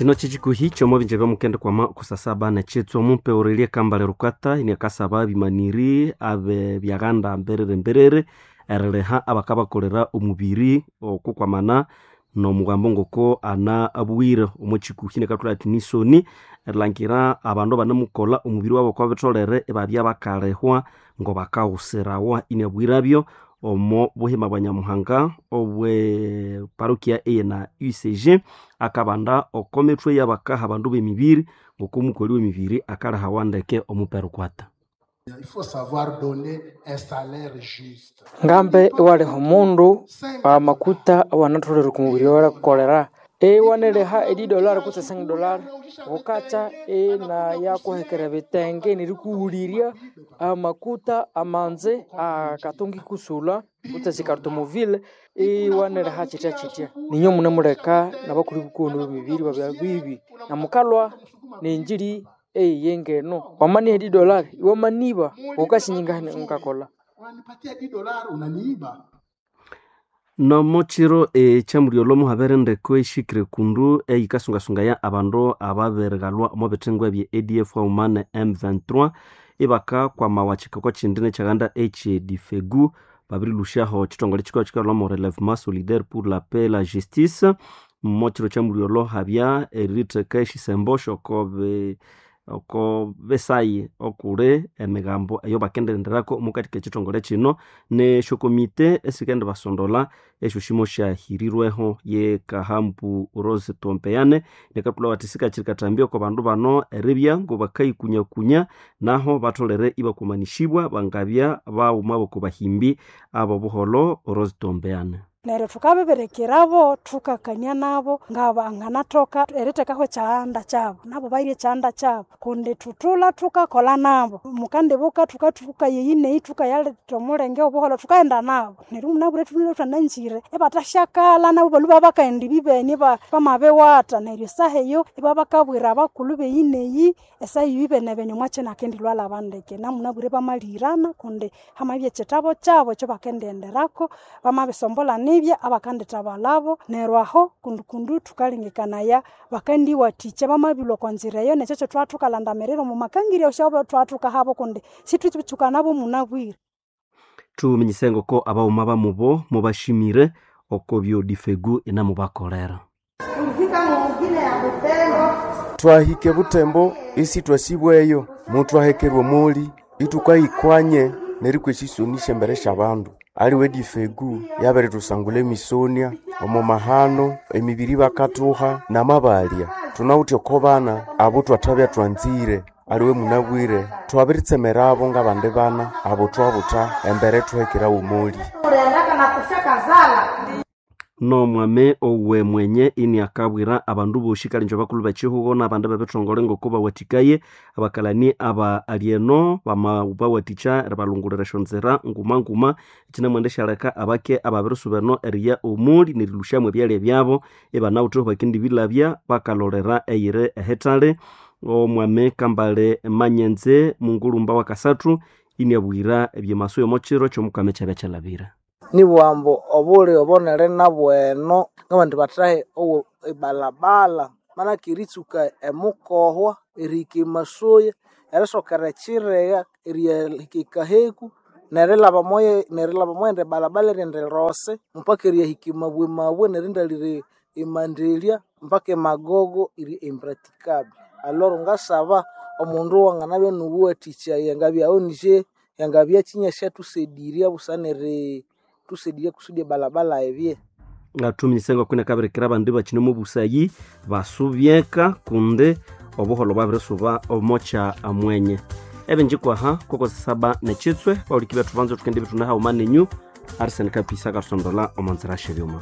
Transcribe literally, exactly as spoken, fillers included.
Kino kyekikuhi ky'omubinja by'omukende kwama kusasaba nekyitsu omupe Aurelie Kambale Rukata iniakasaba abimaniri abe byaghanda mberere mberere eriliha abakabakolera omubiri okukwamana n'omugambo ngoko ana abuwire omo kikuhi nekathwala ati nisoni erilhangira abandu abanemukolha omubiri wabo okwa bitholere ibabya bakalihwa ngo bakawusirawa iniabwirabyo omo buhima bwa Nyamuhanga obwe parokia eyena U C G akabanda oko mithwe y'abakaha abandu b'emibiri ngoko omukoli w'emibiri akalihawa ndeke omupe Rukwata. Il faut savoir donner un salaire juste. Ngambe iwaliha omundu amakuta awanatholere oku mubiri owerikolera iwaneriha edi dollar kutse cinq dollar ghukatya inayakuhekera ebitenge nerikughulirya amakuta amanzi akatunga ikusulha kutse esikarutomobile iwaneriha kyitya kyitya. Ninyo munemuleka nabakuli bukuwene b'emibiri babya bibi namukalhwa nenjiri eyiye ngeno wamaniha edi dollar iwamaniba ghukasinyingahene ngakolha. Unanipatia dix dollars unaniiba. Nomo kiro ekyamulyolho muhabere endeko ehikire kundu eyikasungasungaya abandu ababirighalwa omo bithengo ebye A D F haghuma ne M twenty-three ibakakwamawa kikoko kindi nekyaghanda ekye Difegu babirilhusyaho ekithongole kikagha kikalhwamo Relèvement Solidaire pour la Paix et la Justice. Mo kiro kyamulyolho habya eritheka esyisembo syokobi oko besayi okuli emigambo eyo bakendirenderako omukati k'ekithongole kino nesyokomite esikendibasondola esyoshimo syahirirweho ye Kahambu Rose Tompeyane nekathulha bathi sikakiri kathambia oko bandu bano eribya ngobakayikunyakunya naho batholere ibakumanishibwa bangabya baghuma boko bahimbi abo buholo Rose Tompeyane. Neryo thukabibirekirabo thukakania nabo ngabanganathoka erithekaho ekyahanda kyabo nabo bairye ekyahanda kyabo kundi thuthulha thukakolha nabo mukandibuka thukathuka yeyi neyi thukayaletha omulenge obuholho thukaghenda nabo neryo munabwire thulhwe thwananzire ibathasyakala nabo balhwe babakaghenda ibibeni bamabiwatha neryo esaha eyo ibabakabwira abakulhu beyi neyi esaha eyo ibenebene omwakyinakendilhwalaba ndeke namunabwire bamalihirana kundi hamabya ekyithabo kyabo ekyabakendighenderako bamabisombolha nibya abakandithabalabo neryo aho kundu kundu thukalengekanaya bakandiwathikya bamabilhwa okwa nzira eyo nekyo kyethwathukalandamirira omu makangirya syabo thwathukahabo kundi sithwitsukanabo munabwire. Thuminyise ngoko abaghuma bamubo mubashimire oko byo Difegu inamubakolera. Twahike Butembo isi twasibweyo mutwahekerwa omuli ithukayikwanye nerikwa esisoni syembere syabandu. Aliwe Difegu yabiritusangula emisonia omo mahano emibiri bakathuha namabalya. Thunawithe oko bana abo thwathabya twanzire aliwe munabwire twabiritsemerabo ngabandi bana abo twabutha embere thuhekerawo omuli. Nomwame owe mwenye ini akabwira abandu boshi kalinjo bakulu bechihugo n'abandi bebithongole ngoko bawathikaye abakalani aba alieno bama bawathicha eribalungulira esyonzira nguma nguma ekinamwenda syaleka abake ababirisuba eriya omuli nerilusyamu ebyalya byabo ibanawithe bakendibilabya bakalolera eyiri ehithali. Omwame Kambale Manyenze mungulumba wa kasathu iniabwira ebyemaso y'omukiro ky'omukama ekyabya kyalabira. Nibwambo obuli obonere nabweno ng'abandu bathahe owo ebalabala manake eritsuka emukohwa erihika emasoya erisokera ekiregha eriyahika ekaheku nerilhaba moye nerilhaba moyindi balabala erindi rose mpaka eriyahika emabwe mabwe nerindalira emandelya mpaka emagogo iri impraticable. Aloro ngasaba omundu wanganabya nubuwathikya yangabya O N G yangabya kinyasya thusedirya busana eri thusedirya kusudi ebalabala ebye. Ngatuminyise ngokune kabirikira abandi bakine omu busayi basubyeka kundi obuholo bwabirisuba omokya amwenye. Ebinjikwaha koko saba nekitswe bawuliki bethu banza thukendi bithunaha uma nenyu Arsene Kapisa akasondola omonzira shebyuma.